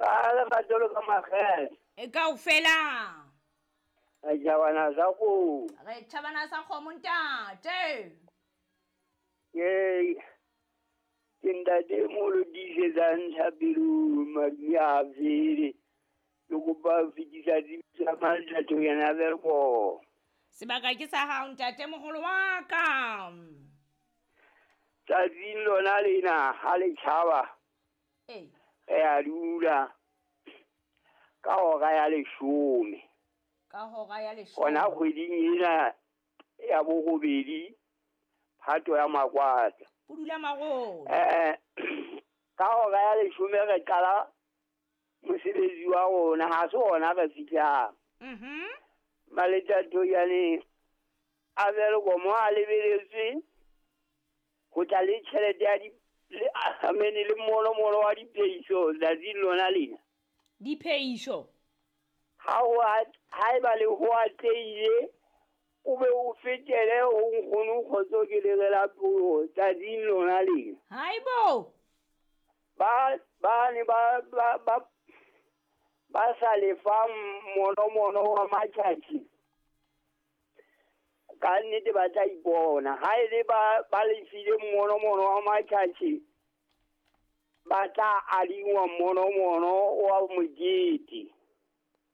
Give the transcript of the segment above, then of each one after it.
Ka lerato le ka makgethe. E kaofela. Re tjhabana sa kgomo. Re tjhabana sa kgomo ntate. Ke ke ntate moholo tiisetsang thapelong madume a fele. Ke kopa ho fetisa tsebiso ya Mantatho yena Welkom. Sebaka ke sa hao ntate moholo wa ka. Tsatsing lona lena ha le tjhaba. Ee. Re a dula ka hora ya 10. Ka hora ya 10. Hona kgweding ena ya borobedi Phato ya Makwata. Pudula marolo. Ka hora ya 10 re qala mosebetsi wa rona, ha se hona re fihlang. Maletato yane a Welkom a lebeletswe ho tla le tjhelete ya di le amene le monomono wa dipeiso tsatsing lona lena. Dipeiso. Ha ho haeba le ho atlehile o be o fetele ho nkgono kgotso ke le rela puo tsatsing lona lena. Haibo. Ba ba ne ba ba ba ba sa lefang monomono wa matjhatjhi. Ka nnete ba tla ipona. Ha e le ba ba lefile monomono wa matjhatjhi, ba tla adingwa monomono wa mokete.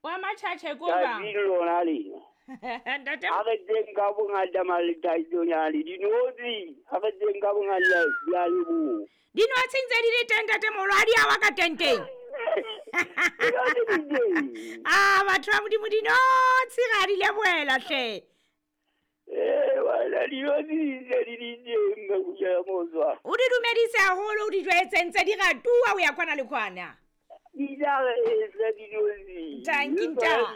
Wa matjhatjhe ko bang? Tsatsing lona lena. Ntate Ha re teng ka bongata Maletaitonyane, dinotshi ha re teng ka bongata di a leboha. Dinotshi ntse di le teng ntate moholo, ha di a wa ka tenteng. Dinotshi di teng. Ah, batho ba Modimo, dinotshi ga di lebohela hle. Wena dinotshi di ntse di le teng, Mekuja ya Motswa. O di dumedise haholo, o di jwetse ntse di ratuwa ho ya kwana le kwana. Di tla re etsa dinotshi. Tanki ntate.